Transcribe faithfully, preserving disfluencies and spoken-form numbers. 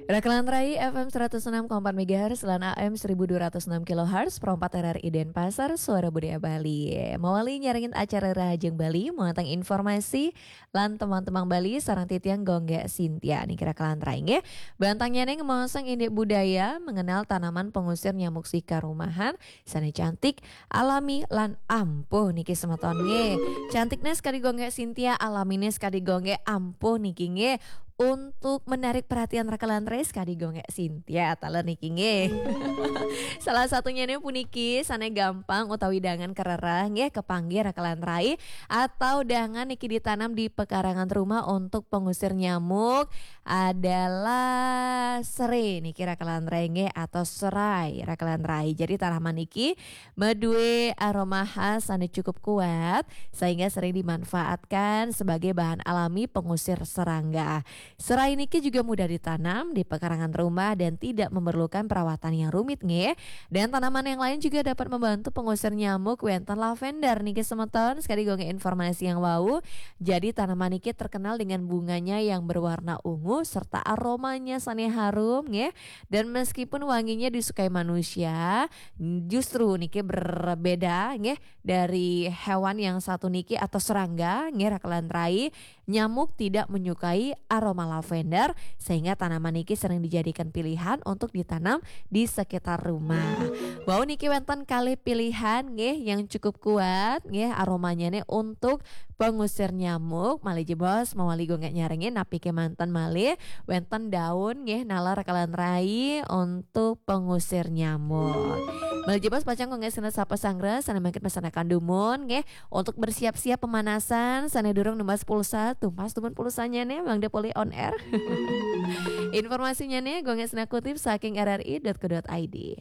Rakelan Rai F M seratus enam koma empat megahertz lan A M seribu dua ratus enam kilohertz, Pro empat R R I Denpasar, Suara Budaya Bali. Mawali nyarengin acara Rahajeng Bali, mawatang informasi lan teman-teman Bali, sareng titiang Gonggé Sintia niki Rakelan Rai nggih. Bantangnya nih ngomong indik budaya, mengenal tanaman pengusir nyamuk sika rumahan, sané cantik, alami lan ampuh niki semeton nggih. Cantiknya sekali Gonggé Sintia, alaminya sekali Gonggé ampuh niki nggih. Untuk menarik perhatian Rakelan Rai sekali Gonggé Sintia, taler niki nggih. Salah satunya nih puniki sané gampang utawi dangan kerereh nggih kepanggih Rakelan Rai atau dangan niki ditanam di pekarangan rumah untuk pengusir nyamuk adalah serai niki Rakelan Rai nggih atau serai Rakelan Rai. Jadi tanaman niki madué aroma khas sané cukup kuat sehingga sering dimanfaatkan sebagai bahan alami pengusir serangga. Serai niki juga mudah ditanam di pekarangan rumah dan tidak memerlukan perawatan yang rumit nggih. Dan tanaman yang lain juga dapat membantu pengusir nyamuk, wénten lavender niki semeton, sekali gonggé informasi yang wau. Jadi tanaman niki terkenal dengan bunganya yang berwarna ungu serta aromanya sané harum nggih. Dan meskipun wanginya disukai manusia, justru niki berbeda nggih dari hewan yang satu niki atau serangga nggih Rakelan Rai. Nyamuk tidak menyukai aroma lavender sehingga tanaman niki sering dijadikan pilihan untuk ditanam di sekitar rumah. Wau niki wénten kalih pilihan nggih yang cukup kuat nggih aromanya nih untuk pengusir nyamuk. Malih jebos mawali gonggé nyarengin napi kémanten malih wénten daun nggih naler Rakelan Rai untuk pengusir nyamuk. Malih jebos pacang gonggé sinten sapa sanggra sané mangkin masanakan dumun nggih untuk bersiap-siap pemanasan sané durung numbas pulsa, tumbas dumun pulsanya nih Bang Depoli on air. Informasinya nih gonggé sinten kutip saking R R I dot co dot I D.